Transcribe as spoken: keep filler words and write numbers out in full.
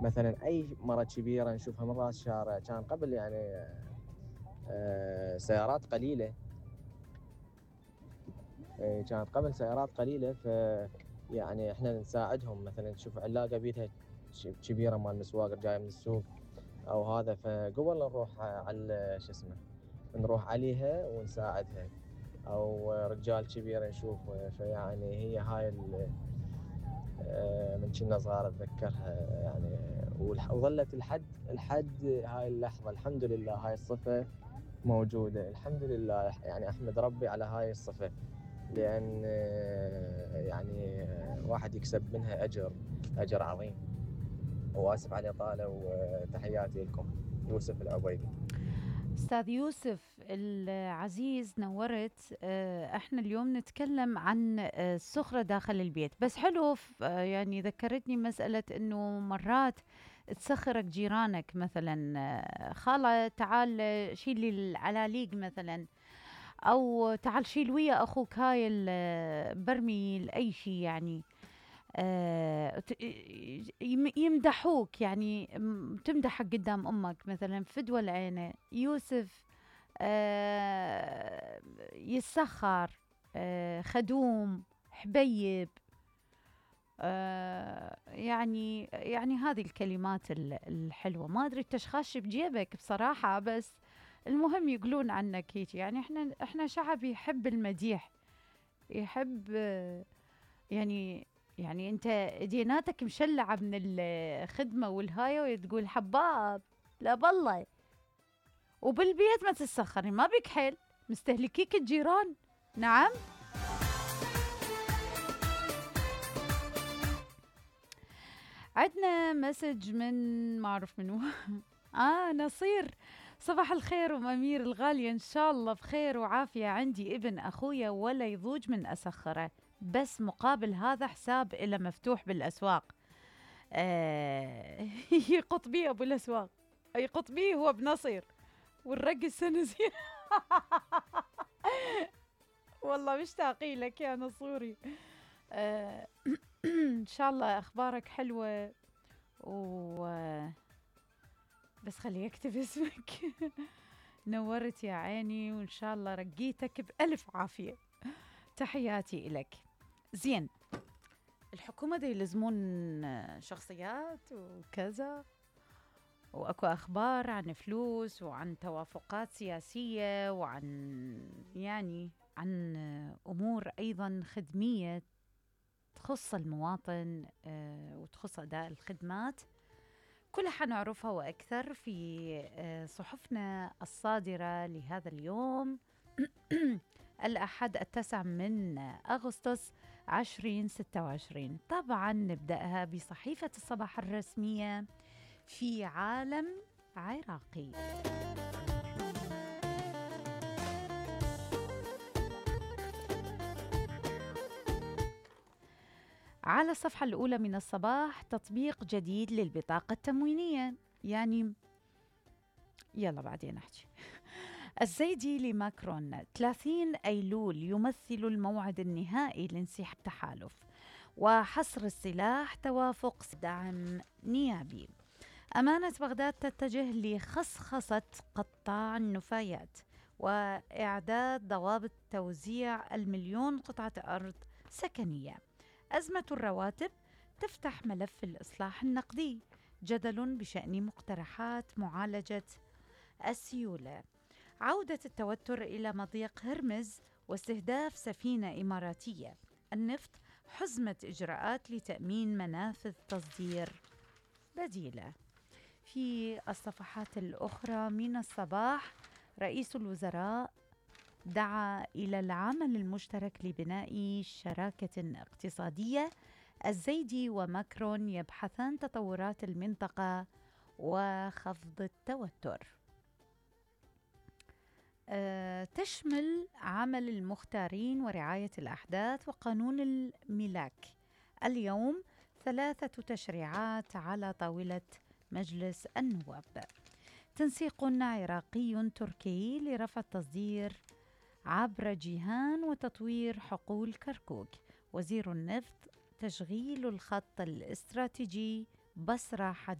مثلا أي مرة كبيرة نشوفها من راس الشارع. كان قبل يعني آه سيارات قليلة، آه كانت قبل سيارات قليلة، ف يعني احنا نساعدهم. مثلا تشوف علاقة بيتها كبيرة مال مسواق جاي من السوق او هذا، فقبل نروح على شو اسمه نروح عليها ونساعدها، او رجال كبير نشوف. فيعني هي هاي من كنا صغار اتذكرها يعني، وظلت لحد لحد هاي اللحظة. الحمد لله هاي الصفة موجودة، الحمد لله. يعني احمد ربي على هاي الصفة، لان يعني واحد يكسب منها اجر اجر عظيم. واسف على الاطالة، وتحياتي لكم. يوسف العبيدي. أستاذ يوسف العزيز نورت. احنا اليوم نتكلم عن السخرة داخل البيت، بس حلو يعني ذكرتني مسألة انه مرات تسخرك جيرانك، مثلا خالة تعال شيلي العلاليق مثلا، او تعال شيل ويا اخوك هاي البرميل اي شيء يعني. آه يمدحوك يعني، تمدحك قدام امك مثلا فدوى العينة يوسف آه يسخر، آه خدوم، حبيب، آه يعني يعني هذه الكلمات الحلوة. ما ادري التشخاش بجيبك بصراحة، بس المهم يقولون عنك هيك. يعني احنا احنا شعب يحب المديح، يحب آه يعني يعني انت ديناتك مشلعة من الخدمة والهاية وتقول حباب لا بالله، وبالبيت ما تتسخري، ما بك حيل مستهلكيك الجيران. نعم. عندنا مسج من ما اعرف منو اه نصير. صباح الخير ام امير الغالية، ان شاء الله بخير وعافية. عندي ابن اخويا ولا يضوج من اسخره، بس مقابل هذا حساب إله مفتوح بالاسواق. آه يقط بيه ابو الاسواق، يقط بيه هو بنصير والرقص سنزير والله مشتاقي لك يا نصوري. آه ان شاء الله اخبارك حلوة، و بس خلي اكتب اسمك نورت يا عيني، وان شاء الله رقيتك بألف عافية. تحياتي إلك. زين، الحكومة دي يلزمون شخصيات وكذا، واكو اخبار عن فلوس وعن توافقات سياسية وعن يعني عن امور ايضا خدمية تخص المواطن وتخص اداء الخدمات. كلها حنعرفها واكثر في صحفنا الصادرة لهذا اليوم الأحد التاسع من أغسطس عشرين ستة وعشرين. طبعا نبدأها بصحيفة الصباح الرسمية في عالم عراقي. على الصفحة الأولى من الصباح تطبيق جديد للبطاقة التموينية. يعني يلا بعدين أحكي. الزيدي لماكرون: ثلاثين أيلول يمثل الموعد النهائي لانسحاب التحالف، وحصر السلاح توافق دعم نيابي. أمانة بغداد تتجه لخصخصة قطاع النفايات وإعداد ضوابط توزيع المليون قطعة أرض سكنية. أزمة الرواتب تفتح ملف الإصلاح النقدي، جدل بشأن مقترحات معالجة السيولة. عودة التوتر إلى مضيق هرمز واستهداف سفينة إماراتية. النفط حزمة إجراءات لتأمين منافذ تصدير بديلة. في الصفحات الأخرى من الصباح، رئيس الوزراء دعا إلى العمل المشترك لبناء شراكة اقتصادية. الزيدي وماكرون يبحثان تطورات المنطقة وخفض التوتر. أه تشمل عمل المختارين ورعاية الأحداث وقانون الملاك. اليوم ثلاثة تشريعات على طاولة مجلس النواب. تنسيق عراقي تركي لرفع التصدير عبر جيهان وتطوير حقول كركوك. وزير النفط: تشغيل الخط الاستراتيجي بصرة حديث